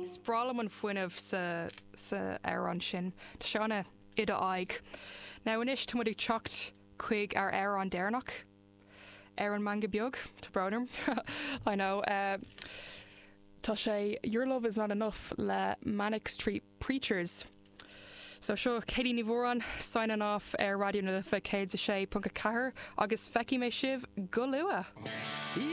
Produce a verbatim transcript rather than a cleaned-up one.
Is breá liom an fuinneamh sa sa amhrán sin Tá sé ana i d'aghaidh. Now anois tá muid ag teacht chuig ár amhrán deireanach ar an Meangadh Beag Tá brón orm I know uh, Tá sé Your Love is Not Enough le Manic Street Preachers. So seo Katie Ní Mhóráin signing off ar Raidió na Life céad a sé ponc a ceathair agus feicfidh mé sibh go luath. Yeah!